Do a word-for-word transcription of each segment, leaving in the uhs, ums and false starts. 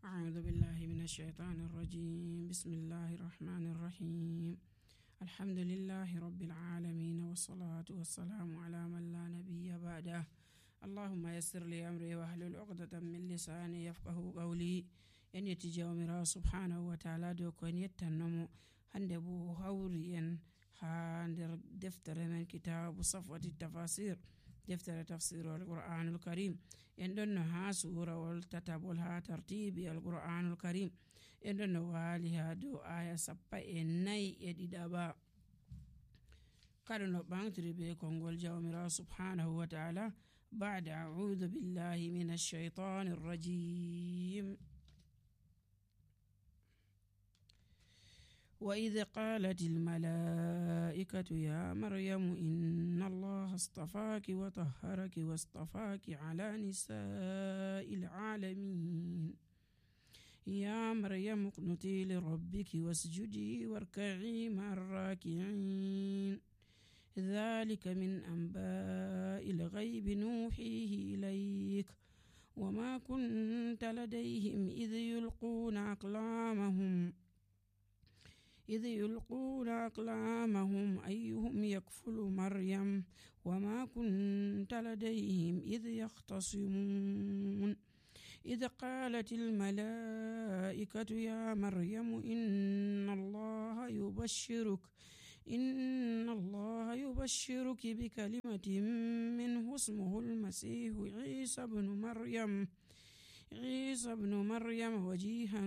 أعوذ بالله من الشيطان الرجيم. بسم الله الرحمن الرحيم. الحمد لله رب العالمين، والصلاة والسلام على من لا نبي بعده. اللهم يسر لي أمري واحلل عقدة من لساني يفقه قولي. en yetti jawmirawo subhanahu wa ta'ala dow ko en yettannomo hande bo hawri en ha nder deftere men kitabu safwati tafasir, deftere tafsirul qur'anul karim. en ɗon no ha surawol tatabol ha tartibi al qur'anul karim. en ɗon no wali ha dow aya sappa e nayi e ɗiɗaɓa. kada no ɓantiri be kongol jawmirawo subhanahu wa ta'ala. ba'da a'udhu billahi minash shaitanir rajim. وإذ قالت الملائكة يا مريم إن الله اصطفاك وطهرك واصطفاك على نساء العالمين يا مريم اقنتي لربك واسجدي واركعي مع الراكعين ذلك من أنباء الغيب نوحيه إليك وما كنت لديهم إذ يلقون أقلامهم إذ يلقون أقلامهم أيهم يكفل مريم وما كنت لديهم إذ يختصمون إذ قالت الملائكة يا مريم إن الله يبشرك إن الله يبشرك بكلمة منه اسمه المسيح عيسى بن مريم عيسى ابن مريم وجيها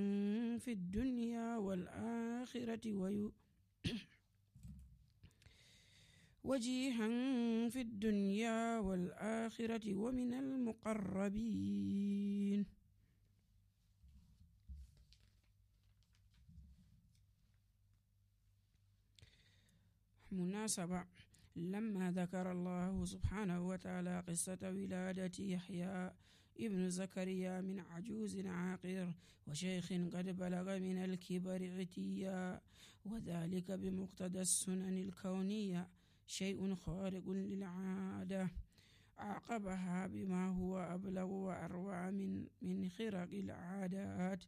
في الدنيا والآخرة وي... وجيها في الدنيا والآخرة ومن المقربين. مناسبة: لما ذكر الله سبحانه وتعالى قصة ولادة يحيى ابن زكريا من عجوز عاقر وشيخ قد بلغ من الكبر عتيا، وذلك بمقتضى السنن الكونية شيء خارق للعادة، عاقبها بما هو أبلغ وأروع من من خرق العادات،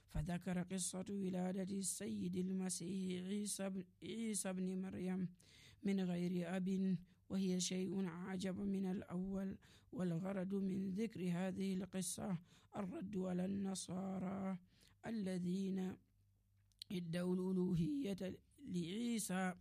فذكر قصة ولادة السيد المسيح عيسى عيسى بن مريم من غير أب، وهي شيء عجب من الأول. والغرض من ذكر هذه القصة الرد على النصارى الذين ادعوا الألوهية لعيسى،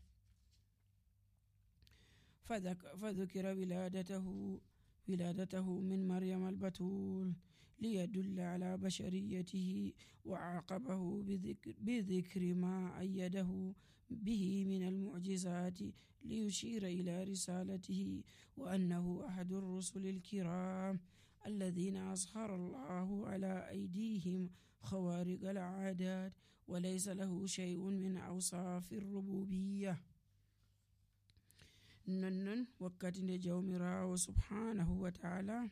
فذكر ولادته ولادته من مريم البتول ليدل على بشريته، وعاقبه بذكر, بذكر ما أيده به من المعجزات ليشير إلى رسالته وأنه أحد الرسل الكرام الذين أظهر الله على أيديهم خوارق العادات، وليس له شيء من أوصاف الربوبية. ننن وقت جومراو سبحانه وتعالى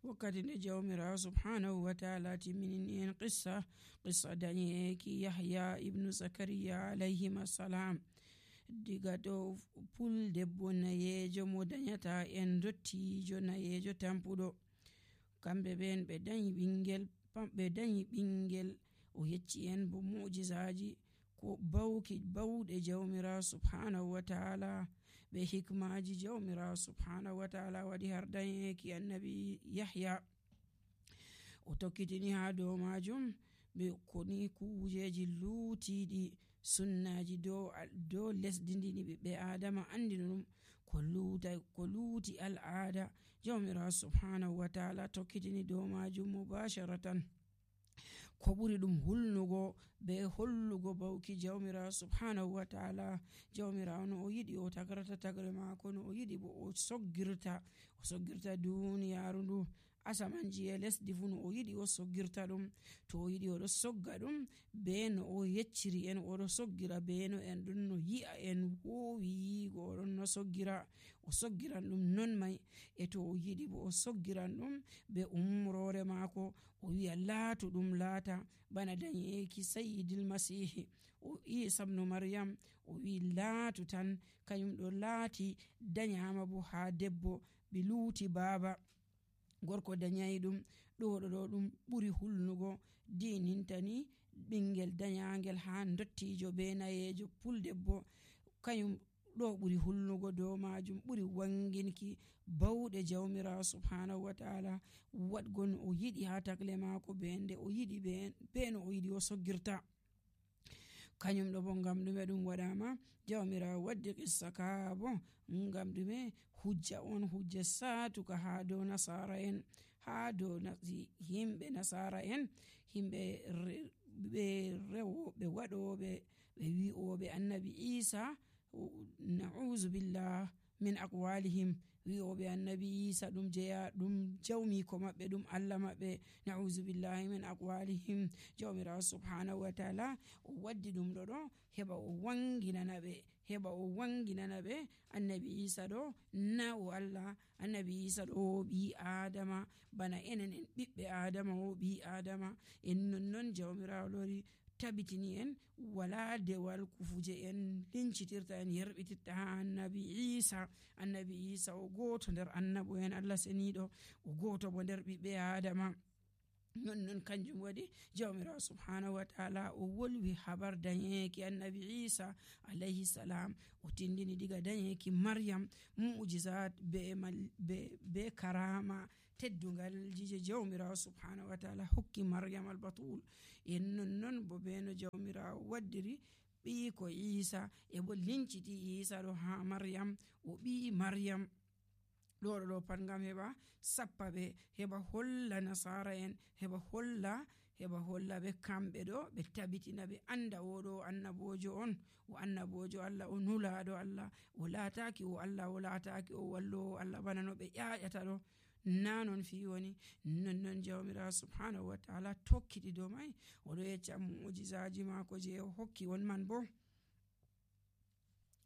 وقت جومراو سبحانه وتعالى من قصة قصة دانيك يحيى ابن زكريا عليهما السلام. diga dow puldebbo nayejo mo danyata en dottijo nayejo tampuɗo. kamɓe ɓen ɓe dañi ɓingel ɓe dañi ɓingel o yecci en bo mu'jizaji ko bawki bawɗe jawmirawo subhanahu wa ta'ala be hikmaji jawmirawo subhanahu wa ta'ala waɗi har dañeki annabi yahya. o tokkitini ha dow majum ɓe koni kujeji luutiɗi sunnaji dow dow lesdi ndini ɓiɓɓe adama andina ɗum ko luuta ko luuti al'ada. jawmirawo subhanahu wa ta'ala tokkitini dow majum mubasharatan ko ɓuri ɗum hulnugo be hollugo bawki jawmirawo subhanahu wa ta'ala. jawmirawo no o yiɗi o tagrata tagre mako, no o yiɗi bo o soggirta o soggirta duniyaru ndu asamanji e lesdi fu, no o yiɗi o soggirta ɗum. to o yiɗi oɗo sogga ɗum be no o yecciri en oɗo soggira be no en ɗum no yi'a en wowi yigo oɗon o soggira o soggiran ɗum non mai e to o yiɗi bo o soggiran ɗum be umrore maako o wi'a laatu ɗum laata bana dañeki sayyidil masihi o isa ibnu maryam o wi laatu tan kanyum ɗo laati danyama bo ha debbo ɓe luuti baaba gorko dañayi ɗum ɗo ɗo ɗum ɓuri hulnugo dinintani ɓingel danyangel ha dottijo be nayejo puldebbo kanyum ɗo ɓuri hulnugo dow majum ɓuri wanginki bauɗe jawmirawo subhanahu wa ta'ala waɗgo no o yiɗi ha tagle mako be nde o yiɗi be no o yiɗi o soggirta kanyum ɗo bo ngam ɗume ɗum waɗama jawmirawo waddi qissa ka bo ngam ɗume hujja on hujja satuka ha dow nasara en ha dow himɓe nasara en himɓe ɓe rewoɓe waɗoɓe ɓe wi'oɓe annabi isa na'uzu billah min aqwalihim wi'oɓe annabi isa ɗum jeya ɗum jawmiko maɓɓe ɗum allah maɓɓe na'uzu billahi min aqwalihim jawmirawo subhanahu wa ta'ala o waddi ɗum ɗo ɗo heɓa o wanginana ɓe heɓa o wanginana ɓe annabi isa ɗo na o allah annabi isa ɗo o ɓi adama bana enen en ɓiɓɓe adama o ɓi adama en nonnon jawmirawo lori tabitini en wala dewal kufuje en lincitirta en yerɓititta ha annabi isa annabi isa o goto nder annabo en allah seniɗo o goto bo nder ɓiɓɓe adama nonnon kanjum waɗi jawmirawo subhanahu wa ta'ala o wolwi habar dañeki annabi isa alayhi salam o tindini diga dañeki maryam mu'jizat be, be, be karama teddungal jije jawmirawo subhanahu wa ta'ala hokki maryam albatul en nonnon bo beno jawmirawo waddiri ɓiyiko isa e bo linciti isa ɗo ha maryam o ɓi maryam ɗo ɗo pat ngam heɓa sappa ɓe heɓa holla nasara en heɓa holla heɓa holla ɓe kamɓe ɗo ɓe tabitina ɓe anda oɗo annabojo on o annabojo allah o nulaɗo allah o laataki o allah o laataki o wallowo allah bana no ɓe ƴaƴata ɗo na non fi woni nonnon jawmirawo subhanahu wa ta'ala tokkiɗi dow mai oɗo yecca mu'jizaji mako je o hokki on man bo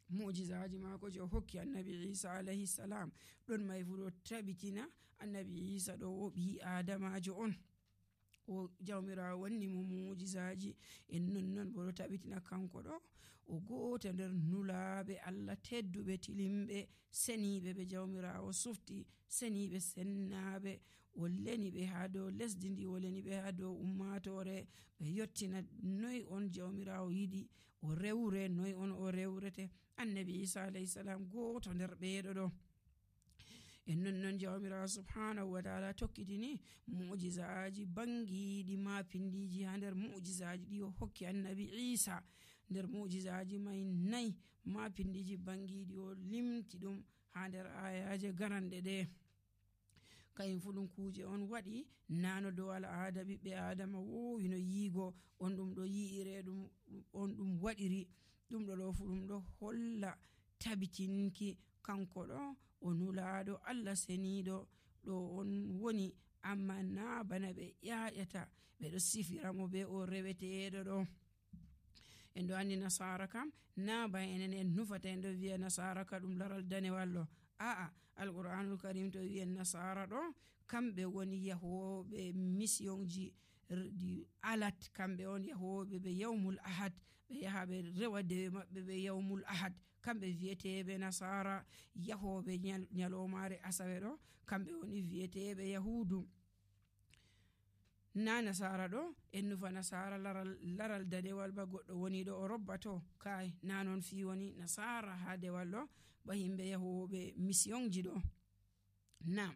mu'jizaji mako je o hokki annabi isa alayhi salam ɗon mai fu ɗo tabitina annabi isa ɗo o ɓi adamajo on o jawmirawo wanni mo mu'jizaji en nonnon bo ɗo tabitina kanko ɗo o goto nder nulaɓe allah tedduɓe tilimɓe seniɓe ɓe jawmirawo sufti seniɓe sennaɓe o leni ɓe ha dow lesdi ndi o leni ɓe ha dow ummatore ɓe yottina noyi on jawmirawo yiɗi o rewre noyi on o rewrete annabi isa alayhi salam goto nder ɓeɗo ɗo en nonnon jawmirawo subhanahu wa ta'ala tokkitini mu'jizaji bangiɗi ma pindiji ha nder mu'jizaji ɗi o hokki annabi isa nder mu'jizaji mai nayi ma pindiji bangiɗi o limti ɗum ha nder ayaje garanɗe ɗe kayum fu ɗum kuje on waɗi nano dow al'ada ɓiɓɓe adama wowi no yiigo on ɗum ɗo yi'ire ɗum on ɗum waɗiri ɗum ɗo ɗo fu ɗum ɗo holla tabitinki kanko ɗo o nulaɗo allah seniɗo ɗo on woni amma na bana ɓe ƴaƴata ɓeɗo sifiramo be o reweteɗo ɗo en ɗo andi nasara kam na ba enen en nufata en ɗo wiya nasara ka ɗum laral danewal ɗo a'a alqur'anul karim to wiyen nasara ɗo kamɓe woni yahoɓe missionji di alat kamɓe on yahoɓe ɓe yawmul ahad ɓe yaha ɓe rewa dewe maɓɓe ɓe yawmul ahad kamɓe viyeteɓe nasara yahoɓe nyalomare asawe ɗo kamɓe woni viyeteɓe yahudu na nasara ɗo en nufa nasara laral, laral danewal ba goɗɗo woni ɗo o robbato kai na non fi woni nasara ha dewal ɗo ba himɓe yahoɓe missionji ɗo na